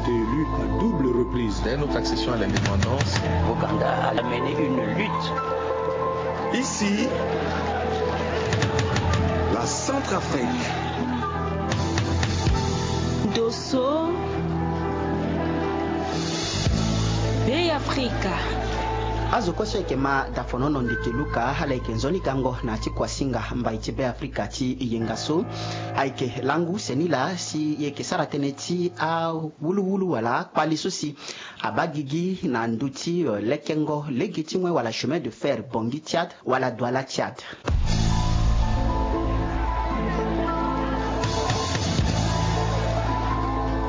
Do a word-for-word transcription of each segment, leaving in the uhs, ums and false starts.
Élu à double reprise. Dès notre accession à l'indépendance, Ouganda a mené une lutte. Ici, la Centrafrique. Dosso, Bey Afrika. Azo kue so e yeke ma dafonono ndeke luka ala yeke nzoni gango na ti kuasinga mbai ti Bey Afrika ti yenga so. Ayeke langu seni laa si e yeke sara tënë ti awuluwulu wala akpali so si abaa gigi na ndö ti, euh, lekengo lege ti wen wala chemin de fer Bangui Tchad wala Douala Tchad.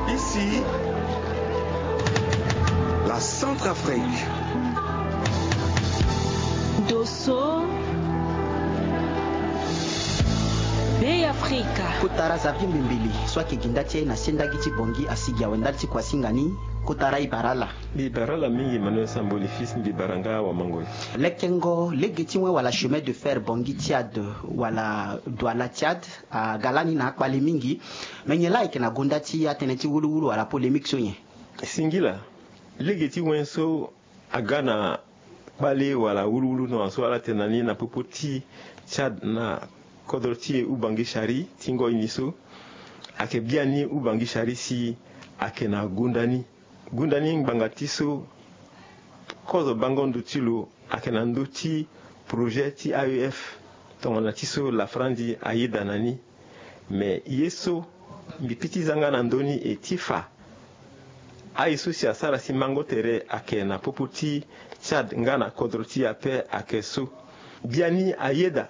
Ici, la Centrafrique. Dosso, Bey Afrika. Kota ra Xavier Mbimbili so ayeke gi nda ti e na sendagi ti Bangui asigi awe ndali ti kuasinga ni. Kota ra e bara ala. Mbi bara ala mingi Emmanuel Samboli fils, mbi bara nga Wamangoi. Lekengo lege ti wen wala chemin de fer Bangui Tchad wala Douala Tchad aga lani na akpali mingi. Me nyen laa ayeke na gonda ti atënë ti wuluwulu wala polémique so nyen? Singila, lege ti wen so aga na kpale wala wuluwulu tongana so ala tene na ni na popo ti Tchad na kodro ti e Oubangui Chari ti ngoi ni so. Ayeke biani Oubangui Chari si ayeke na gunda ni. Gunda ni ngbanga ti so kozo bango ndo ti lo ayeke na ndö ti projet ti A E F tongana ti so lafrandi ayeda na ni. Me ye so mbi piti zanga na ndö ni e ti fa aye so si asara si mango tere ayeke na popo ti Tchad nga na kodro ti e ape ayeke so. Biani ayeda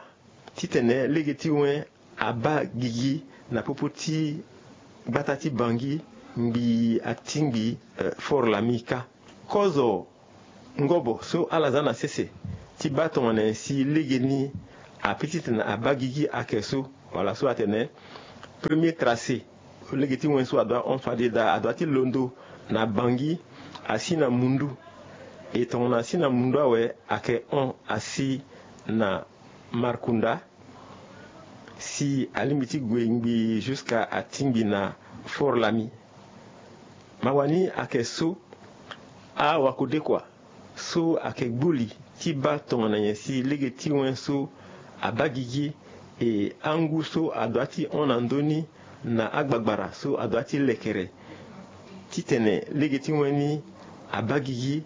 titene lege ti wen abaa gigi na popo ti gbata ti Bangui ngbii atingbi, eh, Fort Lami kâ. Kozo ngobo so ala za na sese ti baa tongana nyen si lege ni ape titene abaa gigi ayeke so wala so atene premier tracé. Lege ti wen so adoit hon fade daa adoit ti londo na Bangui asi na mundu. E tongana asi na mundu awe ayeke hon asi na Markunda si alingbi ti gue ngbii jusqu'à atingbi na Fort Lami. Mawa ni ayeke so awakodekua so ayeke gbuli ti baa tongana nyen si lege ti wen so abaa gigi e angu so adoit ti hon na ndö ni na agbagbara so adoit ti lekere titene lege ti wen ni abaa gigi.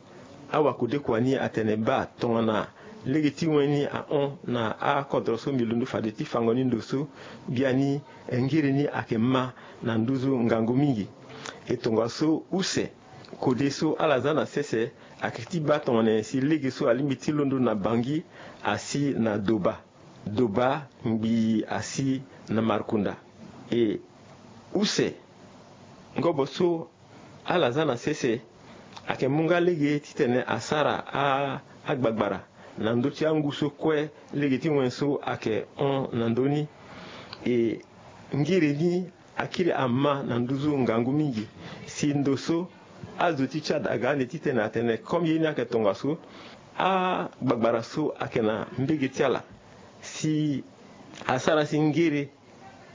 Awakodekua ni atene baa tongana lege ti wen ni ahon na akodro so mbi londo fade ti fango ni ndo so biani ngiri ni ayeke ma na nduzu ngangu mingi. E tongaso use kode so ala za na sese ayeke ti baa tongana nyen si lege so alingbi ti londo na Bangui asi na Doba. Doba ngbii asi na Markunda. E use ngobo so ala za na sese ayeke mu nga lege titene asara a, agbagbara na ndö ti angu so kue lege ti wen so ayeke hon na ndö ni. E ngiri ni akiri ama na nduzu ngangu mingi. Si ndo so azo ti Tchad aga ande titene atene comme ye ni ayeke tongaso, agbagbara so ayeke na mbege ti ala si asara si ngere,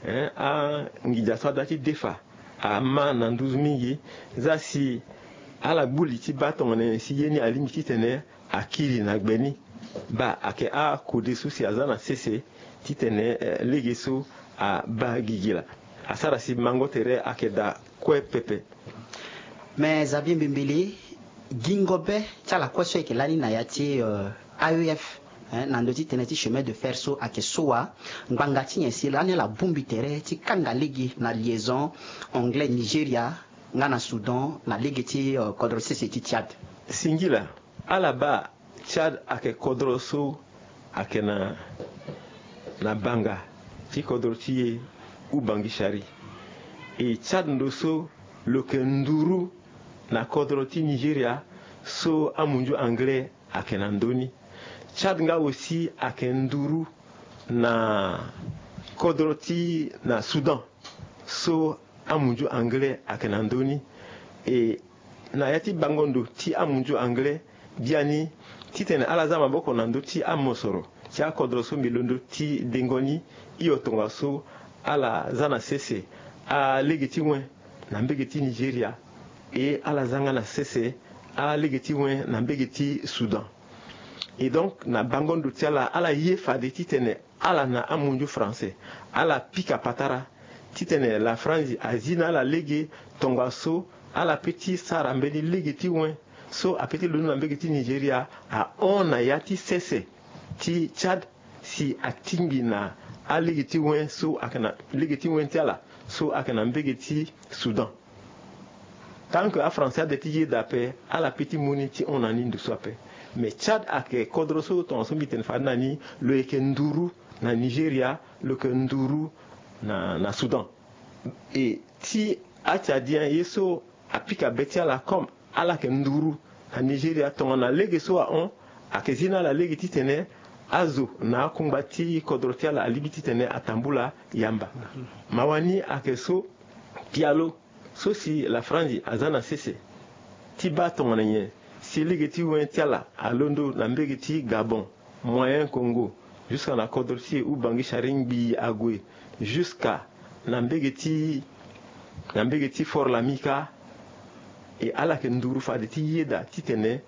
eh, anginza so adoit ti defa ama na nduzu mingi. Za si ala gbu li ti baa tongana nyen si ye ni alingbi titene akiri na gbe ni. Baa ayeke akode so si aza na sese titene, eh, lege so abaa gigi laa. Asara si mango tere ayeke daa kue pepe. Me Xavier Mbimbili, gingo be ti ala kue so e yeke lani na ya ti, eh, A E F, eh, na ndö ti tënë ti chemin de fer so ayeke so wa. Ngbanga ti nyen si lani ala bongbi tere ti kanga lege na liaison anglais Nigeria nga na Soudan na lege ti, eh, kodro sese ti Tchad? Singila, ala baa Tchad ayeke kodro so ayeke na, na banga ti kodro ti e Oubangui Chari. E Tchad ndo so lo yeke nduru na kodro ti Nigeria so amunzu anglais ayeke na ndö ni. Tchad nga aussi ayeke nduru na kodro ti na Soudan so amunzu anglais ayeke na ndö ni. E na ya ti bango ndo ti amunzu anglais biani titene ala za maboko na ndö ti amosoro ti akodro so mbi londo ti dengo ni. Hio tongaso ala za na sese alege ti wen na mbege ti Nigeria E ala za nga na sese alege ti wen na mbege ti Soudan. E donc na bango ndo ti ala, ala ye fade titene ala na amunzu français ala pika patara titene la France azi na ala lege tongaso ala pe ti sara mbeni lege ti wen so ape ti londo na mbege ti Nigeria ahon na ya ti sese ti Tchad si atingbi na alege ti wen so ayeke na lege ti wen ti ala so ayeke na mbege ti Soudan. Tant que afrançais ade ti yeda ape, ala pe ti mu ni ti hon na ni ndo so ape. Mais Tchad ayeke kodro so tongaso mbi tene fade na ni, lo yeke nduru na Nigeria, lo yeke nduru na, na Soudan. E ti aTchadien ye so apika be ti ala comme ala yeke nduru na Nigeria, tongana lege so ahon ayeke zi na ala lege titene azo na akungba ti kodro ti ala alingbi titene atambula yamba. Mawa ni ayeke so pialo so si la France aza na sese ti baa tongana nyen si lege ti wen ti ala alondo na mbege ti Gabon, Moyen Congo, jusqu'à na kodro ti e Ubangui Charly-Ngbii ague, jusqu'à na mbege ti, na mbege ti Fort Lamika. E ala yeke nduru fade ti yeda titene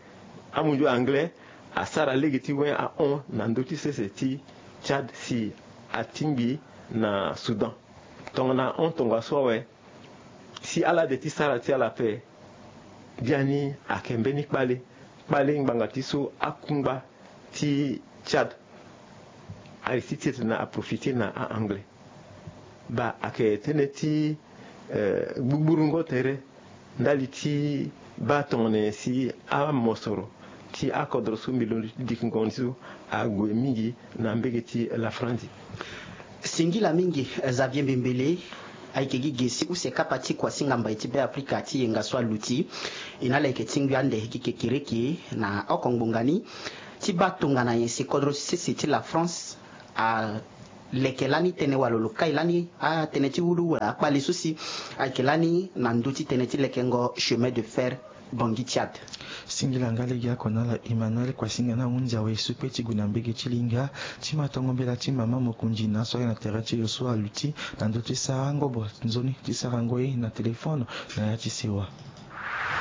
amunzu anglais asara lege ti wen ahon na ndö ti sese ti Tchad si atingbi na Soudan. Tongana ahon tongaso awe, si ala de ti sara ti ala ape, biani ayeke mbeni kpale, kpale ngbanga ti so akungba ti Tchad aye ti titene aprofite na a-anglais. Baa ayeke tënë ti, eh, gbugburu ngo tere ndali ti baa tongana nyen si amosoro ti akodro so mbi londo ti diki ngongo ni so ague mingi na mbege ti la France. Singila mingi, eh, Xavier Mbembele. Ayeke gi ge si use kapa ti kuasinga mbai ti Beafrika ti yenga so aluti. E na ala yeke tingbi ande gi kekereke na oko ngbonga ni ti baa tongana nyen si kodro ti sese ti la France aleke lani tënë wala lo kai lani atënë ti wulu wala akpale so si ayeke lani na ndö ti tënë ti lekengo chemin de fer Bangui Tchad. Singila nga lege oko na ala Emmanuel, kuasinga ni ahunzi awe so pe ti gue na mbege ti linga ti matongo mbela ti mama mokonzi na so aye na tere ti lo so aluti na ndö ti sara ngobo nzoni ti sarango ye na telefone na ya ti sewa.